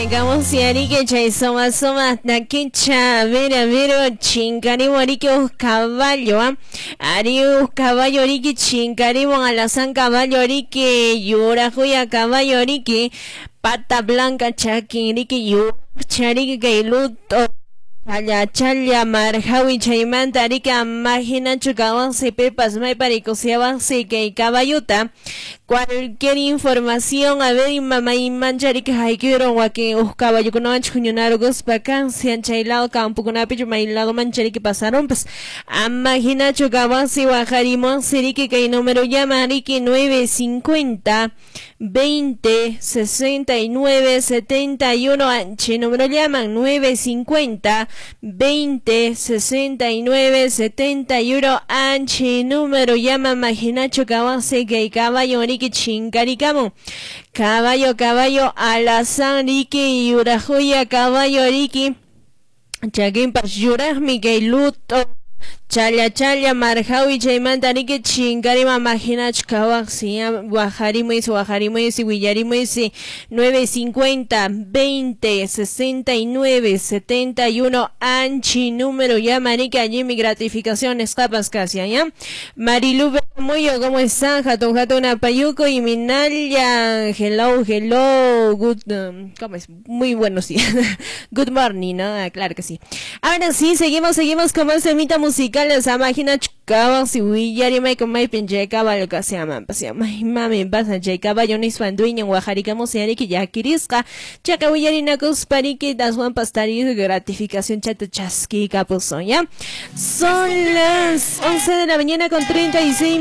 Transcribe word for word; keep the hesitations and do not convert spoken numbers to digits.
Chay chay soma soma takicha vera vero chinkarimo riki uj caballo ari uj caballo riki chinkarimo alazán caballo riki yurajuya caballo riki pata blanca chakin riki yurachariki kay luto challa challa marjawi chaymanta riki amajinachu kawansi pepas mayparikusiawansi kay caballuta. Cualquier información, a ver, mamá y manchariki haykuyron wakin uj caballokunawanchik huñunarukuspa kansian chay lado campokunapichu may lado manchariki pasarunpas amajinachu kawansi waqarimuwansi riki kay número llama riki nueve cincuenta veinte sesenta y nueve setenta y uno anchi número llaman nueve cincuenta veinte sesenta y nueve setenta y uno anchi número llama majinacho kawansi kay caballo riki chinkarikamun caballo caballo alazán riki yurajuya caballo riki chakinpas yuraqmi kay luto challa challa marjawi chaymanta riki chinkarima majinachu kawaqsi waqarimuysi waqarimuysi willarimuysi nueve cincuenta veinte sesenta y nueve setenta y uno anchi número llama riki allí mi gratificaciones capas casi ¿ya? Marilu Muyo, ¿cómo están? Hatun hatun apayuco y Minaya, hello, hello, good, um, ¿cómo es? Muy buenos días, good morning, ¿no? Ah, claro que sí. Ahora sí, seguimos, seguimos con más semita musical, esa máquina chukawasi willarima con maypin chay caballo kasiaman pasiama mami pasa chay caballo nispan dueño wajarikamos yariki yakirisqa chaqa willarinakuspa riki aswanpas tarir gratificación chata chaskikapusun, ¿ya? Son las once de la mañana con treinta y seis